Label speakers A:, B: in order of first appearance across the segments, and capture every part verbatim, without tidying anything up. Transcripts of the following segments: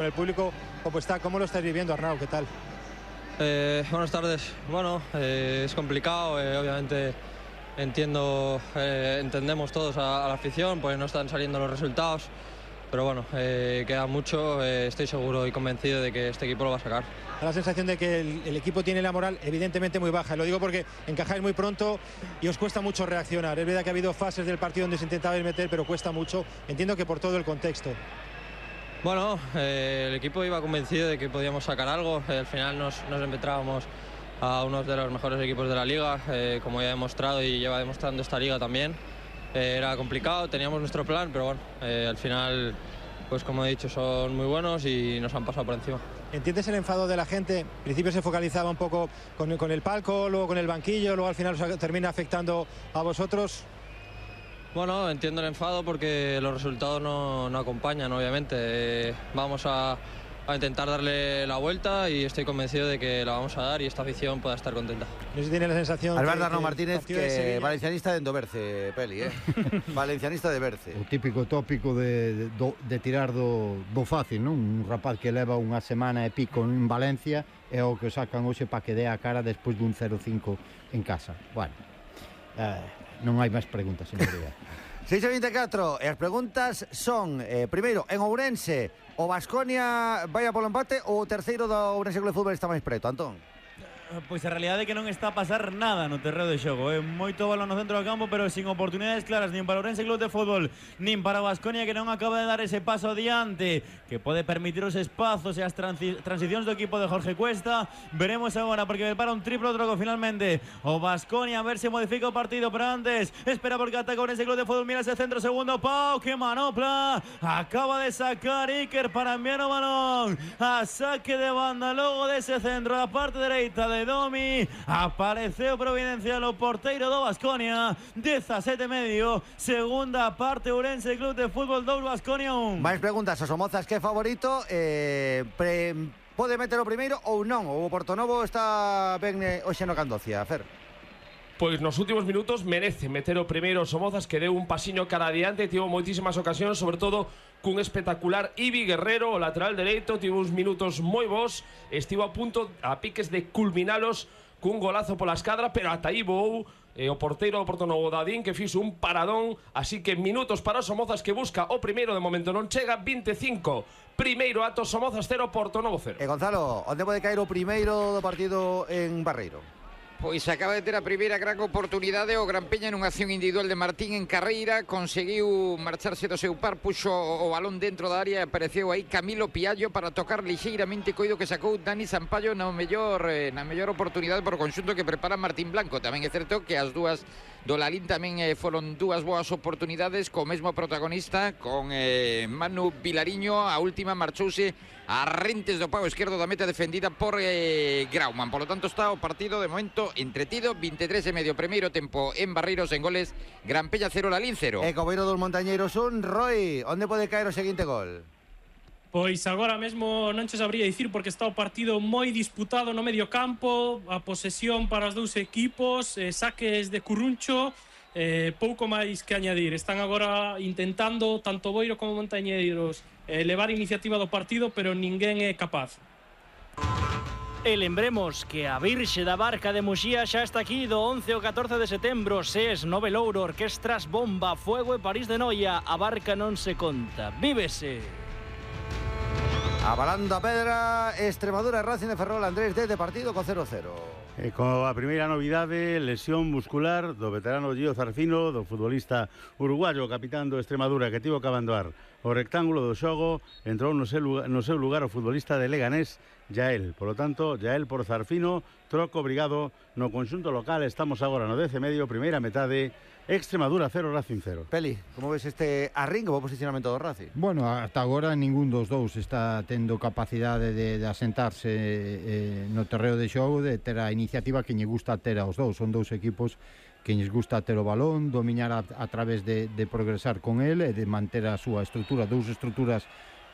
A: El público, ¿cómo está? ¿Cómo lo estás viviendo, Arnau? ¿Qué tal?
B: Eh, buenas tardes. Bueno, eh, es complicado, eh, obviamente entiendo, eh, entendemos todos a, a la afición, pues no están saliendo los resultados, pero bueno, eh, queda mucho, eh, estoy seguro y convencido de que este equipo lo va a sacar.
A: Da la sensación de que el, el equipo tiene la moral evidentemente muy baja, lo digo porque encajáis muy pronto y os cuesta mucho reaccionar. Es verdad que ha habido fases del partido donde se intentaba meter, pero cuesta mucho, entiendo que por todo el contexto.
B: Bueno, eh, el equipo iba convencido de que podíamos sacar algo. Eh, al final nos, nos enfrentábamos a uno de los mejores equipos de la liga, eh, como ya he demostrado y lleva demostrando esta liga también. Eh, era complicado, teníamos nuestro plan, pero bueno, eh, al final, pues como he dicho, son muy buenos y nos han pasado por encima.
A: ¿Entiendes el enfado de la gente? Al principio se focalizaba un poco con, con el palco, luego con el banquillo, luego al final os termina afectando a vosotros.
B: Bueno, entiendo el enfado porque los resultados no, no acompañan, obviamente. Eh, vamos a, a intentar darle la vuelta y estoy convencido de que la vamos a dar y esta afición pueda estar contenta.
A: No sé si tiene la sensación...
C: Alberto Arnau Martínez, que valencianista de Endoberce, Peli, eh? Valencianista de Berce.
D: O típico tópico de, de, de tirar do, do fácil, non? Un rapaz que leva unha semana e pico en Valencia é o que o sacan hoxe para que dé a cara despois dun cero cinco en casa. Bueno, eh... non hai máis preguntas, señoría.
C: seis e vinte e catro, e as preguntas son, eh, primeiro, en Ourense, o Baskonia vai a polo empate ou o terceiro do Ourense Club de Fútbol está máis preto, Antón?
E: Pois a realidade é que non está a pasar nada no terreo de xogo, eh? Moito balón no centro do campo, pero sin oportunidades claras nin para o Ourense Club de Fútbol nin para o Baskonia, que non acaba de dar ese paso adiante que pode permitir os espazos e as transi transicións do equipo de Jorge Cuesta. Veremos agora, porque para un triplo troco finalmente o Baskonia, a ver se modifica o partido, pero antes espera porque ataca o Ourense Club de Fútbol. Mira ese centro, segundo Pau, que manopla, acaba de sacar Iker para enviar o balón a saque de banda, logo dese centro a parte dereita de Domi, apareceu providencial o porteiro do Baskonia. Dezasete e medio, segunda parte, Ourense Club de Fútbol dous, Baskonia un.
C: Máis preguntas, o Somozas que é favorito, eh, pre, pode meter o primeiro ou non? O Portonovo está ben eh, hoxe no Candocia, Fer?
F: Pois nos últimos minutos merece meter o primeiro Somozas, que deu un pasiño cara adiante, tivo moitísimas ocasións, sobre todo cun espectacular Ibi Guerrero, o lateral dereito, tivo uns minutos moi bons, estivo a punto a piques de culminalos cun golazo pola escadra, pero ata aí voou eh, o porteiro do Portonovo, Dadín, que fixo un paradón, así que minutos para o Somozas, que busca o primeiro, de momento non chega. Vinte e cinco, primeiro ato, Somozas cero, Portonovo cero.
C: E Gonzalo, onde pode caer o primeiro do partido en Barreiro?
G: Pois acaba de ter a primeira gran oportunidade o Gran Peña nunha acción individual de Martín en carreira, conseguiu marcharse do seu par, puxo o balón dentro da área e apareceu aí Camilo Piallo para tocar lixeiramente, coido que sacou Dani Sampaio na mellor, eh, na mellor oportunidade por o conxunto que prepara Martín Blanco. Tamén é certo que as dúas do Lalín tamén eh, foron dúas boas oportunidades co mesmo protagonista, con eh, Manu Vilariño. A última marchouse a rentes do pau esquerdo da meta defendida por eh, Grauman. Por lo tanto está o partido de momento entretido. Vinte e tres e medio, primeiro tempo en Barreiros, en goles Gran Peña cero, Lalín cero.
C: E Cobeiro dos Montañeiros un. Roy, onde pode caer o seguinte gol?
H: Pois agora mesmo non che sabría dicir, porque está o partido moi disputado no medio campo, a posesión para os dous equipos, eh, saques de Curruncho, eh, pouco máis que añadir. Están agora intentando, tanto Boiro como Montañeiros, eh, levar a iniciativa do partido, pero ninguén é capaz.
I: E lembremos que a Virxe da Barca de Muxía xa está aquí do once ao catorce de setembro. Ses, Nove Louro, Orquestras Bomba, Fuego e París de Noia. A Barca non se conta, vívese.
C: Abalando a pedra, Extremadura, Racing de Ferrol, Andrés de partido con cero cero.
J: E con a primeira novidade, lesión muscular do veterano Gio Zarfino, do futbolista uruguayo, capitán do Extremadura, que tivo que abandonar o rectángulo do xogo. Entrou no seu, no seu lugar o futbolista de Leganés, Yael. Por lo tanto, Yael por Zarfino, troco obrigado no conxunto local. Estamos agora no dez e medio, primeira metade, Extremadura cero, Racing cero.
C: Peli, como ves este arrinco o posicionamento do Racing?
D: Bueno, ata agora ningún dos dous está tendo capacidade de, de asentarse eh, no terreo de xogo, de ter a iniciativa que lle gusta ter aos dous. Son dous equipos que lles gusta ter o balón, dominar a, a través de, de progresar con el e de manter a súa estrutura, dous estruturas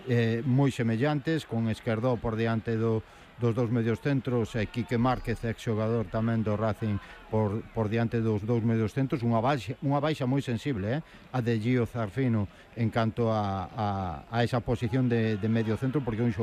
D: eh, moi semellantes, con Esquerdó por diante do, dos dous medios centros e Quique Márquez, ex xogador tamén do Racing, por, por diante dos dous medios centros. Unha baixa, unha baixa moi sensible, eh? A de Gio Zarfino en canto a, a, a esa posición de, de medio centro, porque é un